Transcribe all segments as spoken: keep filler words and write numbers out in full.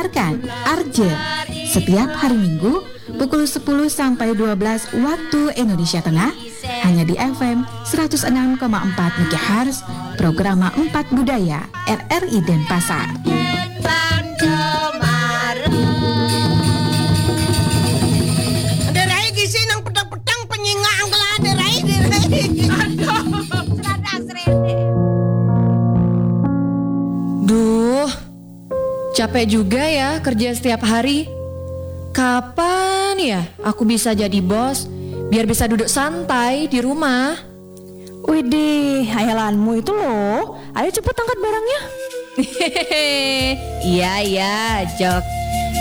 Tekan Arje setiap hari Minggu pukul sepuluh sampai dua belas waktu Indonesia Tengah, hanya di F M seratus enam koma empat megahertz, Programa empat Budaya, R R I Denpasar. Ada rai gisi nang petang-petang penyinga angkela ada rai, ada rai. Aduh. Serada serene. Duh, capek juga ya kerja setiap hari. Kapan ya aku bisa jadi bos, biar bisa duduk santai di rumah? Widih, hayalanmu itu loh. Ayo cepet angkat barangnya. Iya, iya, Jok.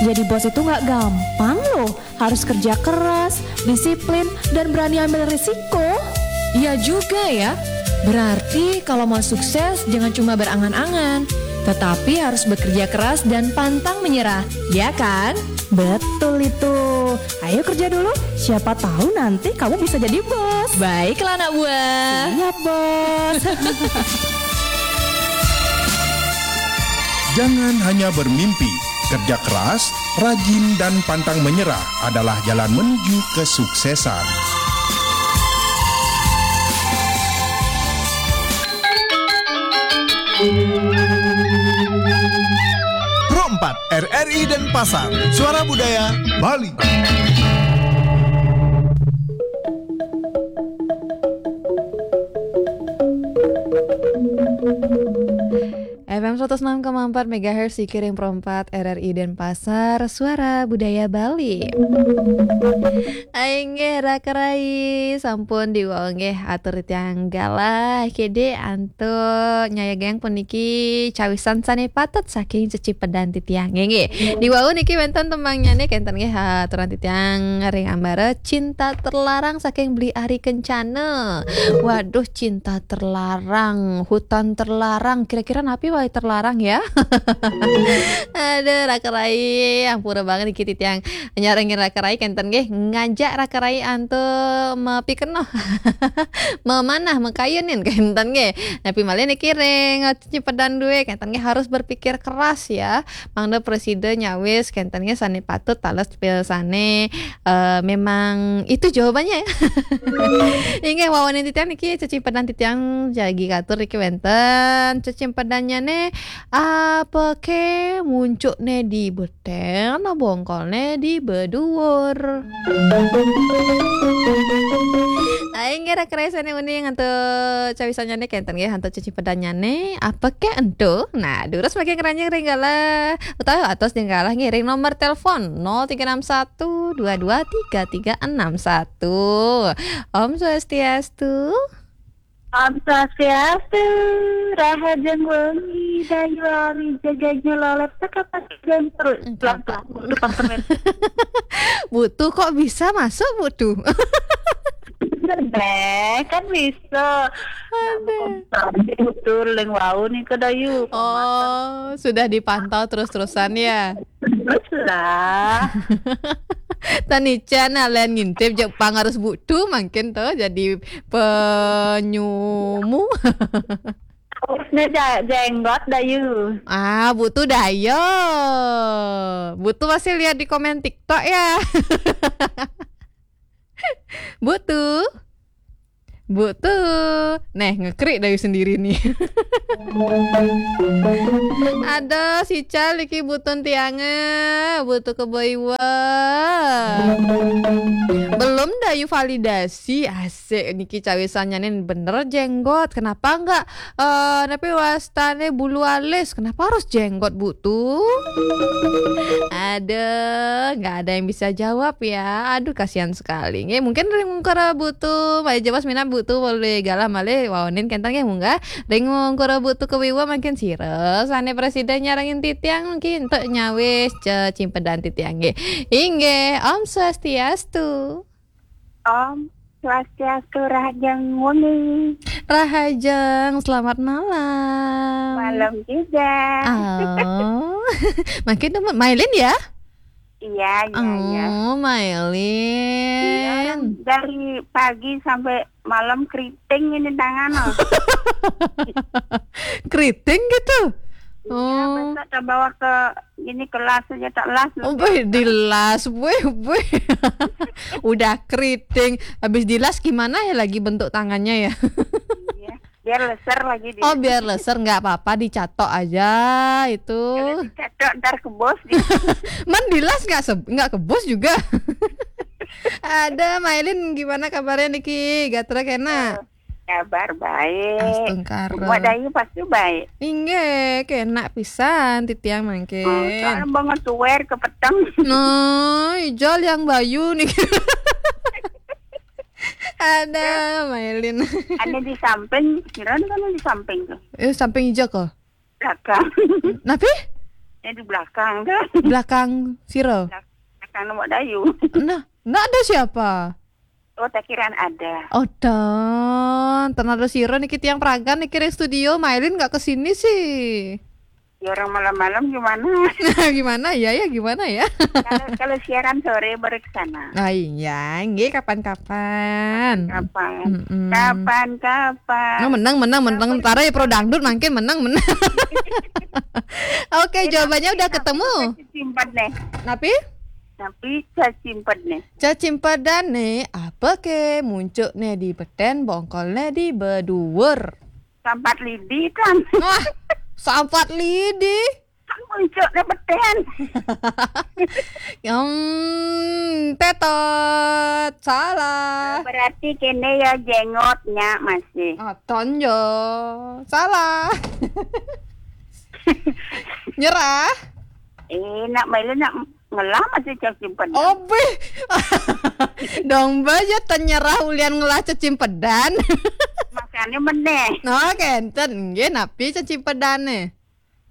Jadi bos itu nggak gampang loh. Harus kerja keras, disiplin, dan berani ambil risiko. Iya juga ya. Berarti kalau mau sukses, jangan cuma berangan-angan, tetapi harus bekerja keras dan pantang menyerah, ya kan? Betul itu. Ayo kerja dulu, siapa tahu nanti kamu bisa jadi bos. Baiklah, anak buah. Siap, bos. Jangan hanya bermimpi, kerja keras, rajin, dan pantang menyerah adalah jalan menuju kesuksesan. Pro empat, R R I Denpasar, Suara Budaya Bali. F M seratus enam koma empat megahertz, dikiring Pro empat, R R I Denpasar, Suara Budaya Bali. Inggih, raka rai, sampun diwau nggih atur titiang galah. Kede antuk nyayagang puniki cawisan sane patut saking cecipedan titiang. Nggih, nggih. Diwau niki wenten tembangnyane kenten nggih, aturan titiang ring ambara Cinta Terlarang saking Beli Ari Kencana. Waduh, cinta terlarang, hutan terlarang. Kira-kira napi wae terlarang ya? Aduh, raka rai, ampura banget niki titiang nyarengin raka rai kenten nggih, ngajak raka rai antuk mapikenoh. Memanah, makayunin kenten nggih. Napi malih niki ring cecipedan duwe kenten nggih, harus berpikir keras ya. Mangda prasida nyawis kenten nggih sane patut taler sane, eh, memang itu jawabannya ya. Inggih, wawanin titiang niki cecipedan titiang jagi katur niki wenten. Cecipedannyane, apa ke muncukne di beten, bongkolne di beduur. Aing ngira keresene uning antuk cawisannyane kenten nggih, antuk cecipedannyane apa ke ento. Nah, durus mangkin ngranjing ring galah utawi atos ring galah ngiring nomor telepon nol tiga enam satu dua dua tiga tiga enam satu. Om Swastiastu. Om Swastiastu, rahajeng wengi, dayu ari jaganya lolet, teka pakigan terus, Enggak, pelang-pelang, Pak. Butuh pasternet. Butuh kok bisa masuk, Butuh? Deh, kan bisa. Nah, Ada. Butuh ling wau nih ke dayu. Oh, sudah dipantau terus-terusan ya? Terus lah. Tani Chan, alen ngintip Jepang harus Butuh mungkin tuh jadi penyumu. Harusnya ja-, jenggot, dayu. Ah, Butuh dayo. Butuh masih lihat di komen TikTok ya. Butuh. Butuh. Neh, ngekrik dayu sendiri nih. Ada si Cal iki Butuh tiange, Butuh keboiwa. Belum dayu validasi, asik niki cawisannya nih bener jenggot. Kenapa enggak Eh, tapi wastane bulu alis, kenapa harus jenggot, Butuh? Aduh, nggak ada yang bisa jawab ya. Aduh, kasihan sekali. Nggih, mungkin ring ungkur Butuh, malih jebos minab Butuh, boleh galah malih waonin kenten nggih, munggah. Ring ungkur Butuh kewiwa mungkin sira sane prasida nyarengin titiang mungkin entuk nyawis cecimpedan titiang nggih. Inggih, Om Swastiastu. Om Swastiastu, rahajeng wengi. Rahajeng, selamat malam. Malam juga. Oh, makin demen. Mailin ya? Iya, iya, iya. Oh, Mailin. Iya, orang dari pagi sampai malam keriting ini tangan, oh. Keriting gitu? Oh. Masa tak bawa ke ini kelas aja tak las. Oh, boy, dilas, boy, boy. Udah keriting, habis dilas gimana ya lagi bentuk tangannya ya? Iya. Biar leser lagi dia. Oh, biar leser nggak apa-apa, dicatok aja itu. Kalau dicatok ntar kebos dia. Man dilas nggak se- nggak kebos juga. Ada Mailin, gimana kabarnya niki? Gatra kena. Kabar baik. Astungkara. Mbok Dayu pasti baik. Inggih, kena pisan titiang mangkin. Oh, soalnya banget tuwer kepeteng. No, ijol yang bayu nih. Ada Mailin. Ada di samping, kira kan di samping tuh. Eh, samping ija kok. Belakang. Napi? Ya di belakang tuh. Belakang siro. Belakang Mbok Dayu. Nah, nggak ada siapa. Oh, tak kiraan ada. Oh, dan ternyata siro niki tiang peragan niki ring studio, Mailin nggak kesini sih. Ya orang malam-malam gimana? Gimana ya, ya gimana ya? Kalau kalau siaran sore baru ke sana. Ah iya, nggih kapan-kapan. Kapan? Mm-mm. Kapan-kapan. No, menang, menang, menang. Tara ya pro dangdut mangkin menang, menang. Oke, eh, jawabannya udah ketemu. Simpan deh. Napi? Tapi saya simpan nih. Cacimpedan nih, apa ke muncuk nih di beten, bongkol nih di beduwer. Sampat lidi kan. Wah, sampat lidi. Kan muncul ke beten. Yang tetot, salah. Berarti kene ya jengotnya masih. Ah, tonjo. Salah. Nyerah. Eh, nak Mailin nak ngelah masih cacimpedan. Obeh. Dong ba ya tenyerah ulian ngelah cacimpedan. Makanya meneh. No, kenten. Nggih, napi cacimpedane?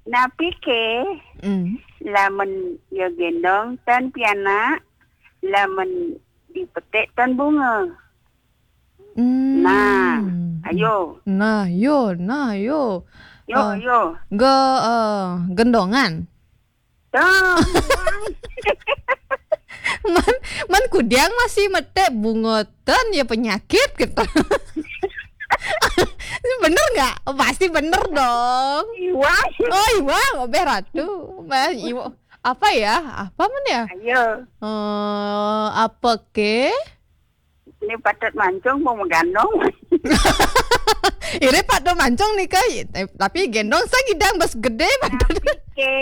Napi ke? Hmm. Lamun ya gendong tan pianak, lamun dipetik tan bunga. Hmm. Nah, ayo. Nah, yo, nah, yo. Yo, eh, yo. Ge, eh, gendongan. Tuh. Man, man kudiang masih metek bungotan ya penyakit gitu. Ini bener nggak? Oh, pasti bener dong. Iwa. Oh, iwa, obeh ratu. Mas iwa. Apa ya? Apa men ya? Ayo. Eh, apa ke? Ini patut mancung mau mengganong. Ini patut mancung nih, Kak. Eh, tapi gendong saya gidang bas gede patut. Tapi ke,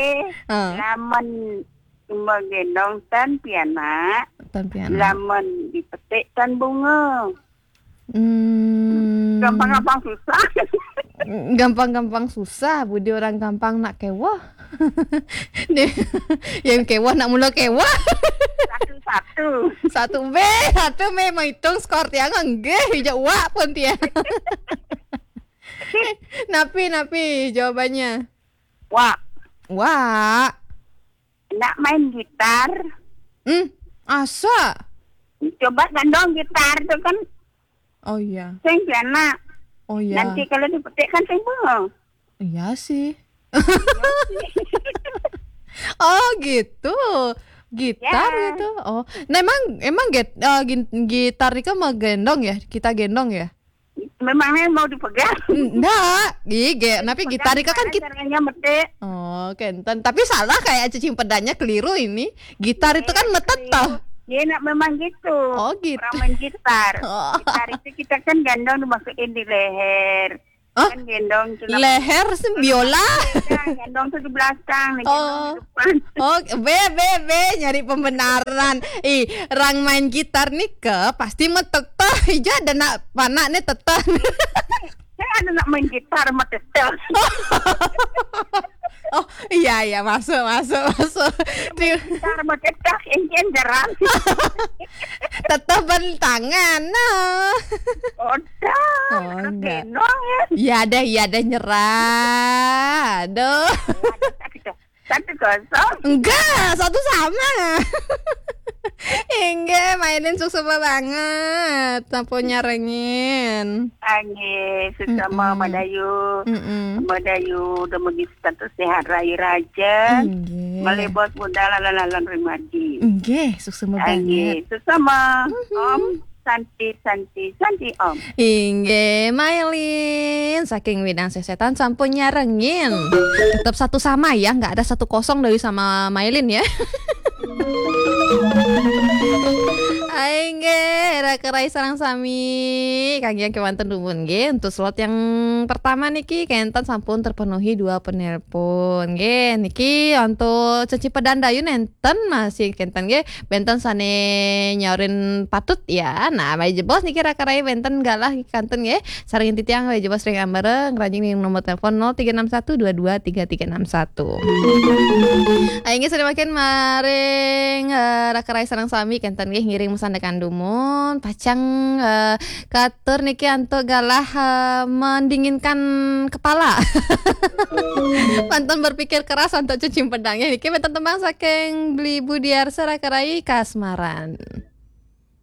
ah, lamun menggendong tan pianak, tan pianak, lamun dipetik tan bunga. Hmm. Gampang-gampang susah. Gampang-gampang susah, budi orang gampang nak kewah. Nih, yang kewah nak mula kewah. Satu-satu. Satu be, satu me menghitung skor tiang nggih, ija uwak pun tiang. Napi, napi jawabannya? Wak. Wak. Nak main gitar. Hmm, asa. Coba gendong gitar tuh kan. Oh iya. Sing enak. Oh iya. Nanti kalau dipetik kan sing bengong. Iya sih. Oh gitu. Gitar ya gitu. Oh, nah, emang emang get, eh, gin- gitar itu mau gendong ya? Kita gendong ya? Memangnya mau dipegang? Enggak. Ih, ge, tapi gitar itu kan gimana kita caranya metik? Oh, kenten. Tapi salah kayak cacimpedannya keliru ini. Gitar itu kan metet toh. Iya, nak memang gitu. Oh, gitu. Orang main gitar. Oh. Gitar itu kita kan gendong dimasukin di leher. Hah? Kan gendong celana. Leher sih biola. Iya, gendong tuh di belakang, nih, gendong di depan. Oh, be, be, be, nyari pembenaran. Ih, orang main gitar nih ke pasti meteteh. Ija ada nak panak nih teteh. Saya ada nak main gitar sama teteh. Oh, iya, iya, masuk, masuk, masuk. Di gitar sama teteh, ini jarang. Teteh bentangan, nah. Odah, oh, enggak. Gendong ya. Iya deh, iya deh, nyerah. Aduh. Satu kosong. Enggak, satu sama. Inggih, mainin suksma banget. Sampun nyarengin. Anggih, suksma Mbok Dayu. Mm-mm. Mbok Dayu udah megi status sehat rayu raja. Inggih. Malih bos budal lalan-lalan ring margi. Inggih, suksma banget. Anggih, suksma. Mm-hmm. Om. Santi, Santi, Santi, Om. Inggih, Mailin saking Widang Sesetan sampun nyarengin. Tetap satu sama ya, nggak ada satu kosong dari sama Mailin ya. Inggih, raka rai sareng sami. Kangge kemanten dumun nggih. Untuk slot yang pertama niki kenten sampun terpenuhi dua penelpon. Nggih, niki untuk Ceci Pedandayun enten masih kenten nggih. Benten sane nyaurin patut ya. Nah, baik jebos niki raka rai benten galah kanten nggih. Sareng titiang baik jebos ring ambara ngranjing ning nomor telepon nol tiga enam satu dua dua tiga tiga enam satu. Ayo nggih sare mangkin maring eh, raka rai sareng sami kenten nggih ngiring masandekan dumun pacang eh, katur niki antuk galah eh, mendinginkan kepala. Pantun berpikir keras untuk cuci pedang ya. Niki benten tembang saking Beli Budiarsa raka rai kasmaran.